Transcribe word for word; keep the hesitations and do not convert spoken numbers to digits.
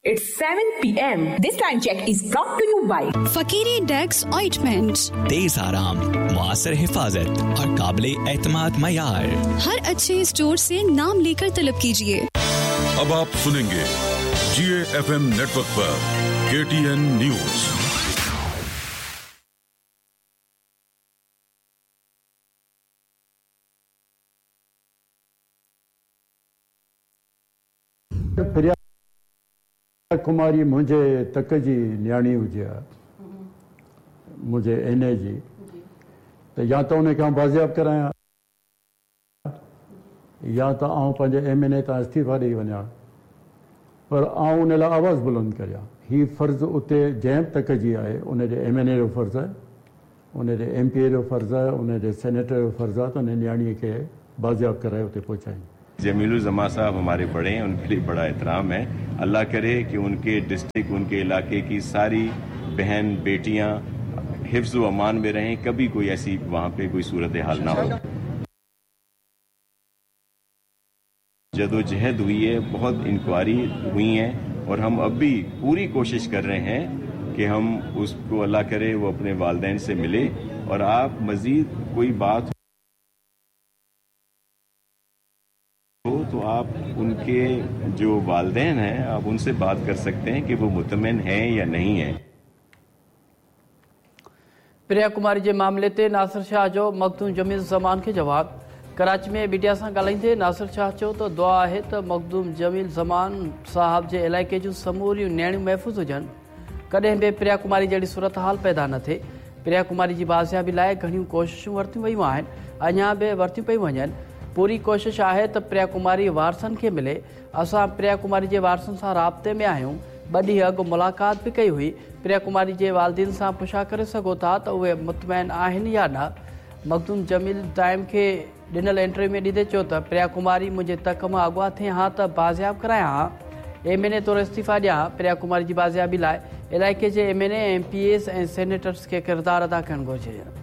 It's seven P M. This time check is brought to you by Fakiri Dex Ointment। तेज आराम, मुआसर हिफाजत और काबिल एतमाद मयार। हर अच्छे स्टोर से नाम लेकर तलब कीजिए। अब आप सुनेंगे जी एफ एम नेटवर्क पर K T N news. Priya Kumari मुंहिंजे तक जी नियाणी हुजे हा, मुंहिंजे एन ए जी, त या त उनखे आउं बाज़ियाब करायां या त आउं पंहिंजे एम एन ए तां इस्तीफ़ा ॾेई वञा, पर आउं उन लाइ आवाज़ बुलंद करियां। हीउ फ़र्ज़ु उते जंहिं बि तक जी आहे, उनजे एम एन ए जो फ़र्ज़ु आहे, उनजे एम पी ए जो फ़र्ज़ु आहे, उनजे सेनेटर जो फ़र्ज़ु आहे त उन नियाणीअ खे बाज़ियाब कराए उते पहुचाइनि। जमीलुज़्ज़मा साहब हमारे बड़े हैं, उनके लिए बड़ा एहतराम है। अल्लाह करे कि उनके डिस्ट्रिक्ट, उनके इलाके की सारी बहन बेटियां हिफ्ज़ व अमान में रहें, कभी कोई ऐसी वहाँ पे कोई सूरत हाल ना हो। जदोजहद हुई है, बहुत इंक्वायरी हुई है और हम अब भी पूरी कोशिश कर रहे हैं कि हम उसको अल्लाह करे वो अपने वालदैन से मिले। और आप मज़ीद कोई बात हो तो आप उनके जो वालदैन हैं आप उनसे बात कर सकते हैं कि वो मुतमिन हैं या नहीं हैं। प्रिया कुमारी जे मामले ते नासिर शाह जो मखदूम जमील ज़मान खे जवाब। कराची में मीडिया सां ॻाल्हाईंदे नासिर शाह चयो त दुआ आहे त मखदूम जमील ज़मान साहब जे इलाइक़े जूं समूरियूं नियाणियूं महफ़ूज़ हुजनि, कॾहिं बि प्रिया कुमारी जहिड़ी सूरत हाल पैदा न थिए। प्रिया कुमारी जी बाज़ियाबी लाइ घणियूं कोशिशूं वरितियूं वयूं आहिनि, अञा बि वरितियूं पयूं वञनि। पूरी कोशिश आहे त प्रिया कुमारी वारसनि खे मिले। असां प्रिया कुमारी जे वारसनि सां राब्ते में आहियूं, ॿ ॾींहं अॻु मुलाक़ात बि कई हुई। प्रिया कुमारी जे वालदीन सां पुछा करे सघो था त उहे मुतमैन आहिनि या न। मखदूम जमील टाइम खे ॾिनल इंटरव्यू में ॾींदे चयो त प्रिया कुमारी मुंहिंजे तक मां अॻुवा थिए हा त बाज़ियाब करायां हा, एम एन ए तौरु इस्तीफ़ा ॾियां। प्रिया कुमारी जी बाज़ियाबी लाइ इलाइक़े जे M N A, M P S ऐं सेनेटर्स खे किरदारु अदा करणु घुरिजे।